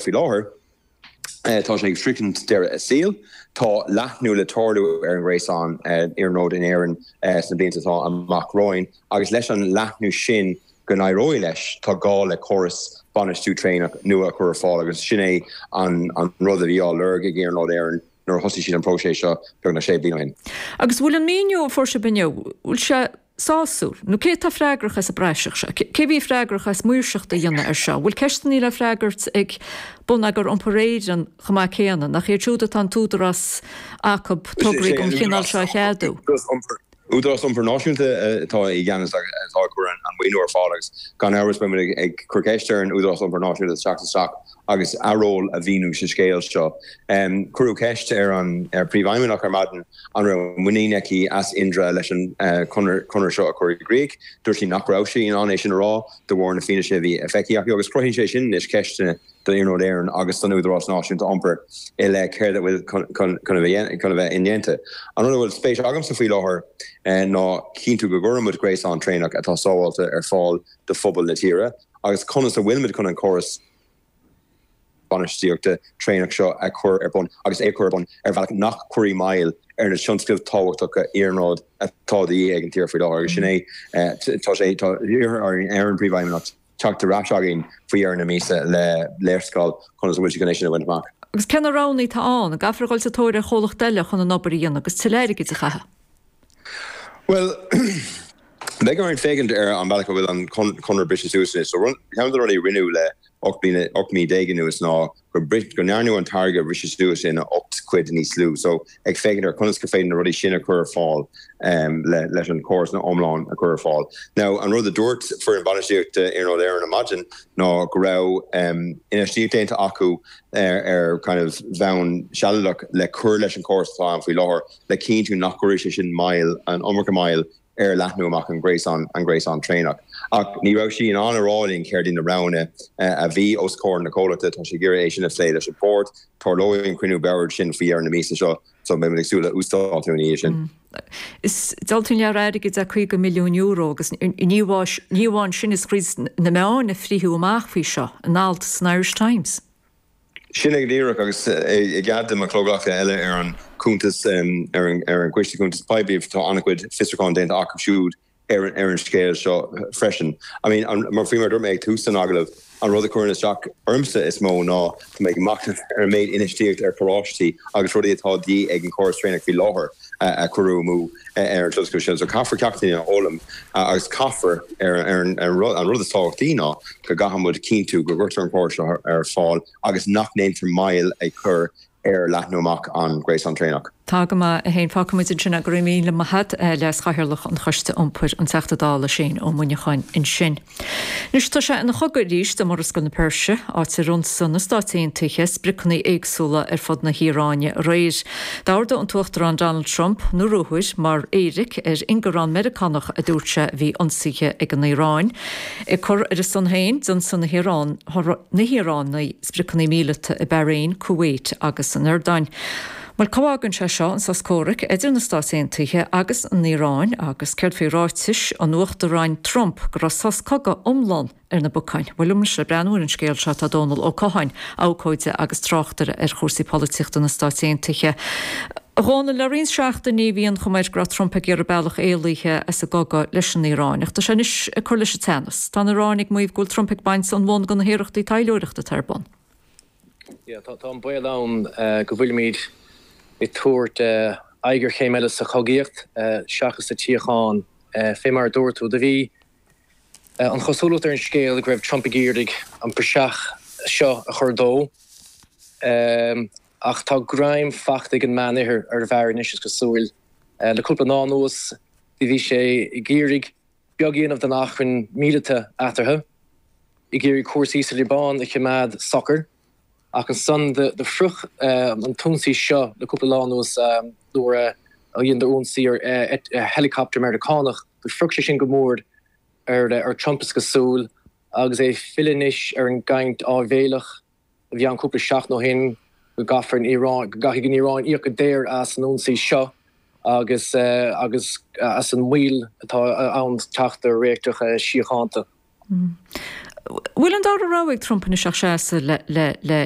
faoi láthair, tá sé ag sroichint deireadh a saoil. Tá leathnú le tarlú ar an ngréasán iarnróid in Éirinn sna blianta atá amach romhainn agus leis an leathnú sin go n-éireoidh leis, tá gá le córas bainistiú traenach nua a chur ar fáil agus sin é an rud a bhí á lorg ag Iarnród Éireann nuair a thosaigh siad an próiseas seo beagnach sé bliana ó shin. Agus bhfuil an míniú a fuair sibh inniu, bhfuil sé sásúil? Nó cé atá freagrach as an bpraiseach seo? Cé a bhí freagrach as maoirseacht a dhéanamh air seo? Bhfuil ceisteanna le freagairt ag Bonneagar Iompair Éireann chomh maith céanna? Nach iad siúd atá an t-údarás acu tograí den chineál seo a cheadú? Údarás Iompair Náisiúnta atá i gceannas agus atá ag cur an maoiniú ar fáil agus gan amhras beidh muid ag cur ceist ar an Údarás Iompair Náisiúnta teacht isteach agus a ról a mhíniú sa scéal seo. Cuireadh ceist ar an Príomhfheidhmeannach ar maidin an raibh muinín aici as Indra leis an chonradh seo a chur i gcrích. Dúirt sí nach raibh sí in ann é sin a rá de bharr na fianaise a bhí feicthe acu agus cruthaíonn sé sin anois ceisteanna do Iarnród Éireann agus don Údarás Náisiúnta Iompair i leith céard a bhfuil chun a bheith indéanta. An rud a bhfuil spéis agamsa faoi láthair ná cinntiú go gcuireann muid gréasán traenach atá sábháilte ar fáil do phobal na tíre agus conas a bhfuil muid chun an córas bainistíochta traenach seo a chur ar bun agus é a chur ar bun ar bhealach nach gcuirfidh moill ar na tionscnaimh tábhachtacha iarnróid atá de dhíth ag an tír faoi láthair agus sin é tá sé tá iarrtha ar an bPríomhfheidhmeannach teacht ar ais againn faoi dheireadh na míosa le léarscáil conas a bhfuil siad chun é sin a bhaint amach. Agus cé na roghanna atá ann? An gcaithfear a dhul sa tóir ar chomhlacht eile chun an obair a dhéanamh agus tuilleadh airgid a chaitheamh? Bhuel, beidh orainn féachaint ar an bhealach a bhfuil an conradh briste suas anois. So, ceann de na rudaí a rinneadh le 18 bliana, 18 mí anuas ná go ndearnadh an táirge a bhriseadh suas ina 8 cuid níos lú. So, ag féachaint ar conas gur féidir na rudaí sin a chur ar fáil leis an chóras iomlán a chur ar fáil. Now, an rud a dúirt foireann bainistíochta Iarnród Éireann ar maidin ná go raibh infheistíocht déanta acu ar kind of bhonn sealadach le cur leis an chóras atá ann faoi láthair le cinntiú nach gcuirfidh sé sin moill, an iomarca moill ar leathnú amach an gréasán, an gréasán traenach. Ach ní raibh sí in ann a rá linn céard iad na roghanna a bhí os comhair na comhlachta. Tá sí ag iarraidh é sin a phlé leis an bhord. Tarlóidh an cruinniú boird sin faoi dheireadh na míosa seo so beidh muid ag súil le uasdátú ina dhiaidh sin. Is diabhalta an lear airgid é €50 milliún agus ní amháin sin is chroith na meáin a frítheadh amach faoi seo in alt san Irish Times. Sin é go díreach, agus i gcead do mo chomhghleacaithe eile ar an cuntas, ar an gCoiste Cuntas Poiblí, tá an-chuid fiosrúchán déanta acu siúd ar an scéal seo freisin. I mean, mar faoi mar a dúirt mé ag tús an agallaimh, an rud a chuireann isteach ormsa is mó ná tá mé ag machnamh ar an méid infheistíocht ar charráistí agus rudaí atá de dhíth ag an chóras traenach faoi láthair a cuireadh amú ar an tionscadal sin. So caithfear ceachtanna a fhoghlaim agus caithfear ar an rud, an rud is tábhachtaí ná go gcaithfidh muid cinntiú go gcuirtear an córas seo ar fáil agus nach ndéantar moill a chur ar leathnú amach an ghréasáin traenach. Tá go maith, a Shéain. Fágfaidh muid ansin é. Go raibh míle maith agat, Leas-Chathaoirleach an Choiste Iompair, an Teachta Dála Shane Ó Muineacháin ansin. Anois tá sé ina chogadh arís i Murascaill na Peirse, áit ar ionsaigh na Stáit Aontaithe spriocanna éagsúla ar fud na hIaráine aréir. D'ordaigh an tUachtarán Donald Trump na ruathair mar éiric ar ingearán Meiriceánach a dúirt sé a bhí ionsaithe ag an Iaráin. Ag cur ar a son féin, d'ionsaigh na hIaránaigh spriocanna míleata i Bahrain, Kuwait agus san Iordáin. Bhuel, cá bhfágann sé seo an sos comhraic idir na Stáit Aontaithe agus an Iaráin agus céard faoi ráitis an Uachtaráin Trump go raibh sos cogaidh iomlán ar na bacáin? Bhuel, liom anois le breathnú ar an scéal seo tá Dónal Ó Catháin, abhcóide agus tráchtaire ar chúrsaí polaitíochta na Stáit Aontaithe. A Dhónaill, le roinnt seachtainí bhí an chuma air go raibh Trump ag iarraidh bealach éalaithe as an gcogadh leis an Iaráin, ach tá sé anois ag cur leis an teannas. Tá an Iaráin ag maíomh go bhfuil Trump ag baint an bhun de na hiarrachtaí taidhleoireachta atá ar bun. Yeah, tá an baol ann go bhfuilimid ag tabhairt aghaidh ar chéim eile sa chogaíocht seachas sa tsíocháin. Fé mar a dúirt tú, do bhí an chosúlacht ar an scéal go raibh Trump ag iarraidh an praiseach seo a chur dó. Ach tá greim fachta ag an Meánoirthear ar an bhfear anois, is cosúil. Le cúpla lá anuas, do bhí sé ag iarraidh beag a dhéanamh den achrann míleata eatarthu, ag iarraidh cúrsaí sa Liobáin a choimeád socair, ach ansan do shroich an t-ionsaí seo le cúpla lá anuas nuair a dheineadar ionsaí ar helicopter Meiriceánach. Do shroich sé sin go mór ar Trump is cosúil, agus é ag filleadh anois ar an gcaint áibhéileach a bhí ann cúpla seachtain ó shin go gcaithfear an Iaráin, go gcaithfidh an Iaráin íoc go daor as an ionsaí seo agus agus as an moill atá ann teacht ar réiteach síochánta. Bhfuil an dara rogha ag Trump anois ach seasamh le le le.